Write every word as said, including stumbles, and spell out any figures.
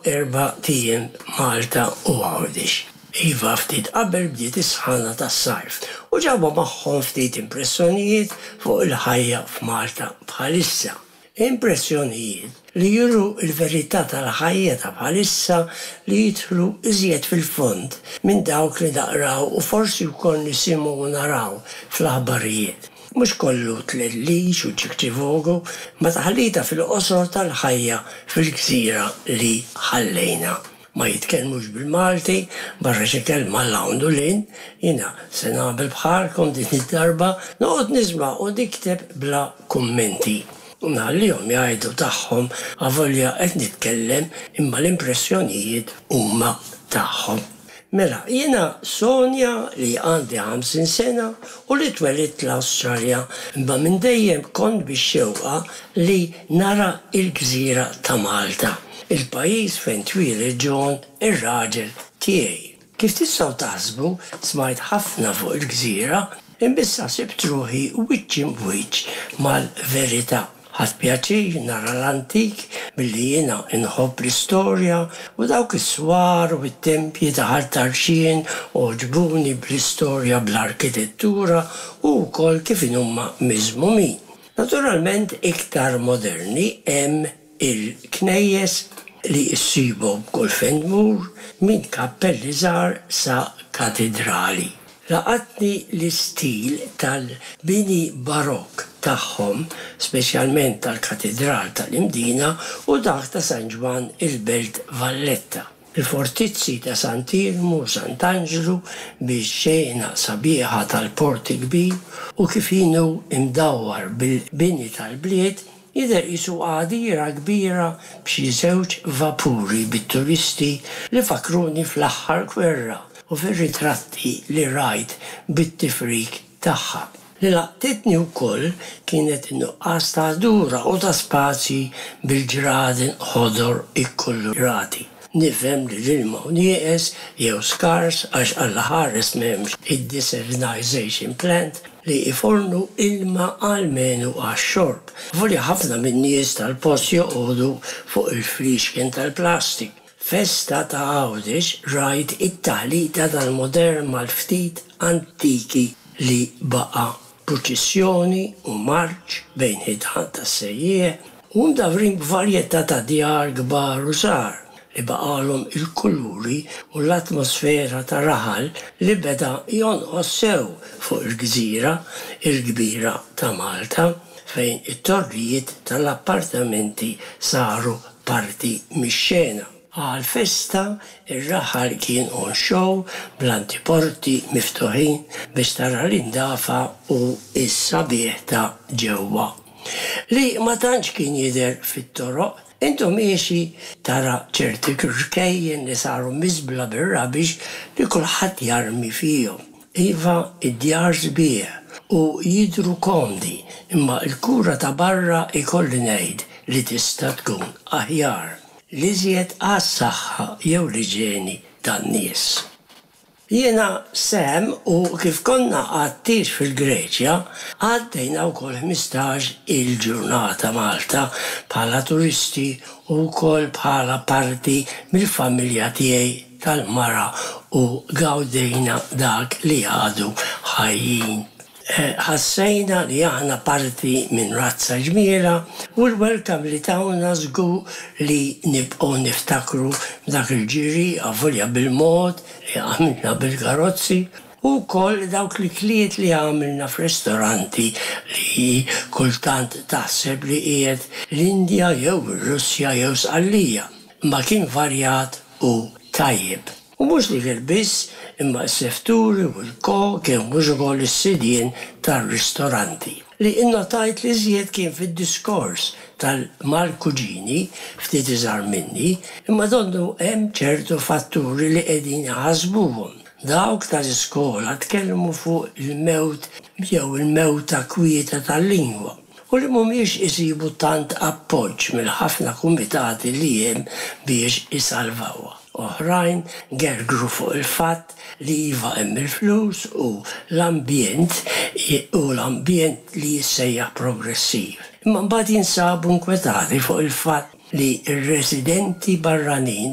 erbat ijiem Malta u Għawdex. Iva, ftit qabel bdiet is-sħana tas-sajf u ġabu magħhom ftit impressjonijiet fuq il-ħajja f'Malta bħalissa. Impressjonijiet li juru il-verità tal-ħajja ta' bħalissa, li jidħlu iżjed fil-fond minn dawk li naqraw u forsi wkoll nisimgħu u naraw fl-aħbarijiet. Mhux kollu tlellix u ċikċivogu, imma taħlita fil-qosor tal-ħajja fil-gżira li ħallejna. Ma jitkellmux bil-Malti, barra xi kelma 'l hawn u 'l hinn. Jiena se nagħmel bħalkom din id-darba, noqgħod nisma' u nikteb bla kummenti. U nħallihom jgħidu tagħhom, avolja qed nitkellem, imma l-impressjonijiet huma tagħhom. Mela, jiena Sonja li għandi ħamsin sena u li twelidt l-Awstralja, imma minn dejjem kont bix-xewqa li nara il-gżira ta' Malta, il-pajjiż fejn twieled John, ir-raġel tiegħi. Kif tistgħu taħsbu, smajt ħafna fuq il-gżira, imma issa sibt ruħi wiċċ imb'wiċċ mal-verità. Ħadt pjaċir nara l-antik billi jiena nħobb l-istorja, u dawk is-swar u t-tempji ta' Ħal Tarxien għoġbuni bl-istorja, bl-arkitettura u wkoll kif huma miżmumin. Naturalment iktar moderni hemm il-knejjes li issibu b'kull fejn tmur, minn kappelli żgħar sa katedrali. Laqatni l-istil tal-bini barok tagħhom, speċjalment tal-Katedral tal-Imdina u dak ta' San Ġwann il-Belt Valletta. Il-fortizzi ta' Sant'Iermu u Sant'Anġlu bix-xena sabiħa tal-Port il-Kbir u kif inhu imdawwar bil-bini tal-bliet, jidher qisu għadira kbira b'xi żewġ vapuri bit-turisti li fakruni fl-aħħar gwerra u fir-ritratti li rajt bit-tifrik tagħha. Li laqtitni wkoll kienet in-nuqqas ta' ħdura u ta' spazji bil-ġraden ħodor ikkulurati. Nifhem li l-ilma hu nieqes jew skars, għax Alla ħares m'hemmx id-desalinization plant li ifornu ilma almenu għax-xorb. Avolja ħafna min-nies tal-post joqogħdu fuq il-fliexken tal-plastik. Festa ta' Għawdex rajt it-taħlita tal-modern mal-ftit antiki li baqa', purċissjoni u marċ bejn ħitan tas-sejjieħ u mdawrin b'varjetà ta' djar kbar u żgħar li baqalhom il-kuluri u l-atmosfera ta' raħal li beda jonqos sew fuq il-gżira il-kbira ta' Malta, fejn it-torrijiet tal-appartamenti saru parti mix-xena. Għal-festa ir-raħal kien on show bl-antiporti miftuħin biex tara l-indafa u s-sabiħ ta' ġewwa, li ma tantx kien jidher fit-toroq. Int u miexi tara ċerti rkejjen li saru miżbla bir-rubbish li kulħadd jarmi fihom. Iva, id-djar sbieħ u jidru komdi, imma l-kura ta' barra ikolli ngħid li tista' tkun aħjar. L-iżjed għas-saħħa jew l-iġeni tan-nies. Jiena Sam u kif konna għat-tieġ fil-Greċja, għaddejna wkoll ħmistax il-ġurnata Malta bħala turisti u wkoll bħala parti mill-familja tiegħi tal-mara, u gawdejna dak li għadu ħajjin. Ħassejna li aħna parti minn razza ġmiela u l-welcome li tawna żgur li nibqgħu niftakru dak il-ġiri, avolja bil-mod li għamilna bil-karozzi, u wkoll dawk l-ikliet li għamilna f'ristoranti li kultant taħseb li qiegħed l-Indja jew ir-Russja jew Sqallija. Ma kien varjat u tajjeb. U mhux l-ikel biss, imma s-sefturi u l-kok, kien mhux ukoll is-sidien tar-ristoranti. Li innotajt li żjed kien fid-diskors tal-mal-kuġini ftit iżgħar minni, imma donnu hemm ċertu fatturi li qegħdin jaħasbuhom. Dawk tal-iskola tkellmu fuq il-mewt jew il-mewta kwieta tal-lingwa u li mhumiex isibu tant appoġġ mill-ħafna kumitati li hemm biex isalvawha. Oħrajn gergru fuq il-fatt li iva, hemm il-flus u l-ambjent u l-ambjent li jissejjaħ progressiv. Imma mbagħad jinsabu nkwetati fuq il-fatt li r-residenti barranin